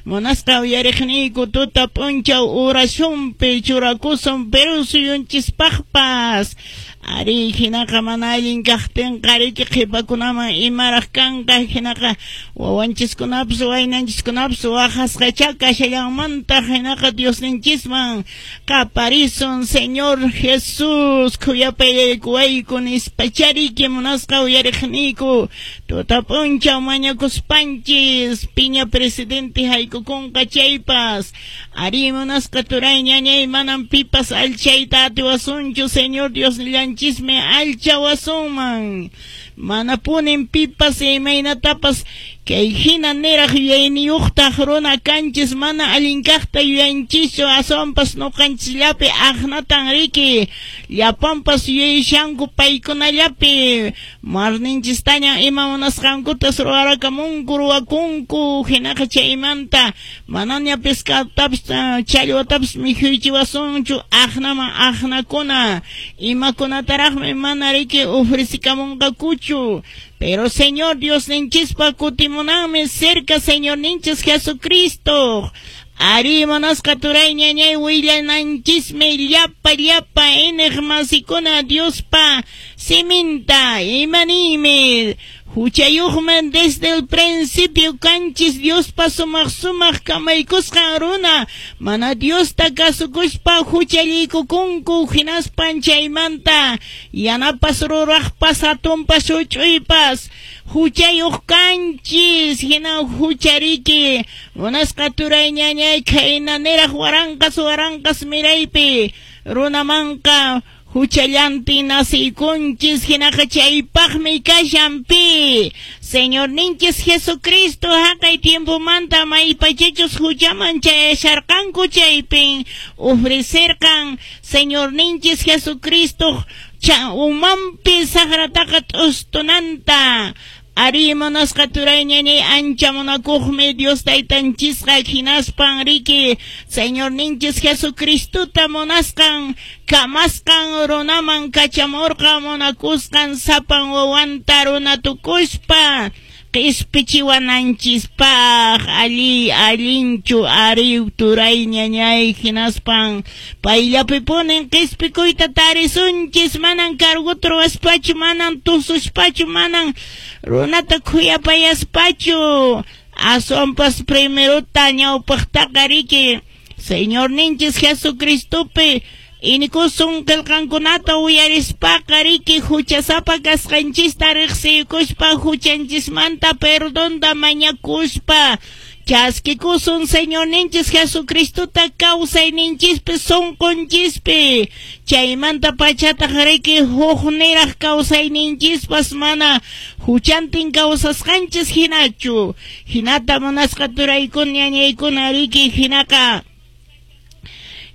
Munasqa uyariqniyku tuta p'unchaw oracionpi churakusun Perú suyunchispaqpas. Ari hinaqa mana allin kaqtinqa riki qhipakunaman imaraq kanqa, hinaqa wawanchiskunapas waynanchiskunapas waqasqachá kashallanmantaq, hinaqa Diosninchisman qaparisun, Señor Jesús khuyapayaykuwayku nispachá riki munasqa uyariqniyku tuta p'unchaw mañakuspanchis piña presidente haykukunqa chaypas. Ari munasqa turay ñañay manam pipas allchayta atiwasunchu, Señor Diosnillanchismi allchawasunman. Manapunin pipas imaynatapas kay hina niraq yuyayniyuqtaq runa kanchis, mana allin kaqta yuyanchischu, aswanpas nuqanchisllapi aqnatan riki llapanpas yuyashanku paykunallapi marninchistaña ima munasqankutas ruwarakamunku ruwakunku, hinaqa chaymanta manaña pescadotapis challwatapis mikhuychiwasunchu aqnaman aqnakuna imakunataraqmi mana riki ofrecikamunqakuchu. Pero Señor Diosninchispa kutimunanmi cerca Señorninchis Jesucristo. Ari munasqa turay ñañay willananchismi llapa llapa iñiq masikuna Diospa siminta imaniymi huchayuqman desde el principio kanchis Diospa sumaq sumaq kamaykusqan runa mana Diosta kasukuspa huchallikukunku hinaspan chaymanta yanapas ruraqpas hatunpas huch'uypas huchayuq kanchis hina huchariki munasqa turay ñañay khayna niraq waranqas waranqas miraypi runamanqa huchallantin nasiykunchis hinaqa chaypaqmi kashan pi Señorninchis Jesucristo haqay tiempomanta maypachachus huchaman chayasharqanku chaypin ofrecerqan Señorninchis Jesucristo umanpi saqrataqa t'ustunanta. Ari munasqa turay ñañay ancha munakuqmi Dios taytanchisqa hinaspan riki Señorninchis Jesucristota munasqan kamasqan runaman kachamurqa munakusqan sapan wawanta runa tukuspa qispichiwananchispaq alli allinchu ari turay ñañay hinaspan payllapipunin qispikuyta tarisunchis manan carguta ruwaspachu manan tususpachu manan runata khuyapayaspachu aswanpas primerota ñawpaqtaqa riki Señorninchis Jesucristopi inikusun qillqankunata uyarispaqa riki huchasapa kasqanchista riqsiykuspa huchanchismanta perdonta mañakuspa chaskikusun Señorninchis Jesucristota kawsayninchispi sunqunchispi chaymanta pachataq riki huk niraq kawsayninchispas mana huchantin kawsasqanchis hinachu hinata munasqa turaykuna ñañaykuna riki hinaqa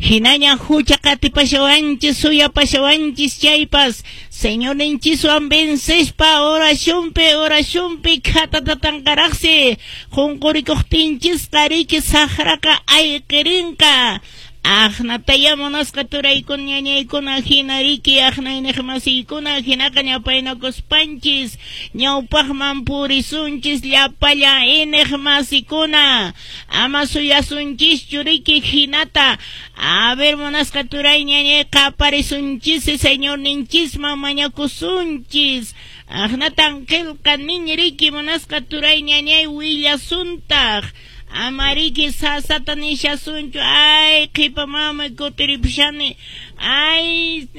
hinaña hucha qatipashawanchis suyapashawanchis chaypas Señorninchiswan vencespa oracionpi oracionpi khatatatanqaraqsi qunqurikuqtinchisqa riki saqraqa ayqirinqa aqnataya munasqa turaykuna ñañaykuna hina riki aqnayniq masiykuna hinaqa ñapaynakuspanchis ñawpaqman purisunchis llapallan iñiq masikuna ama suyasunchischu riki hinata a ver munasqa turay ñañay qaparisunchis Señorninchisman mañakusunchis aqnatan qillqa nin riki munasqa turay ñañay willasuntaq ama riki sasata nishasunchu ay qhipa mamay kutiripusani ay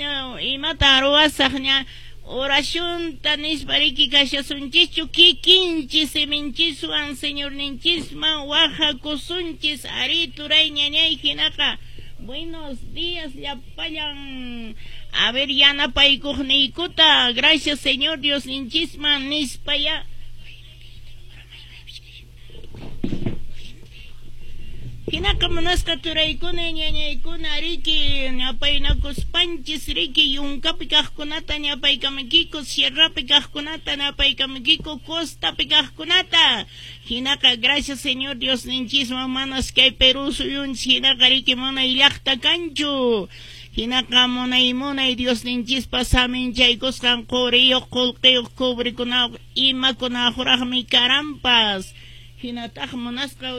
imatan ruwasaq ña oracionta nispa riki kashasunchischu kikinchis siminchiswan Señorninchisman wahakusunchis ari turay ñañay hinaqa buenos días llapallan a ver yanapaykuqniykuta gracias Señor Diosninchisman nispa ya. Hinaqa munasqa turaykuna ñañaykuna riki ñapaynakuspanchis riki yunkapi kaqkunata ñapaykamuykiku sierrapi kaqkunata ñapaykamuykiku costapi kaqkunata hinaqa gracias Señor Diosninchisman manas kay Perú suyunchis hinaqa riki munay llaqta kanchu hinaqa munay munay Diosninchispa saminchaykusqan quriyuq qullqiyuq cobrekunaqa imakunaqraqmi karanpas hinataq munasqa.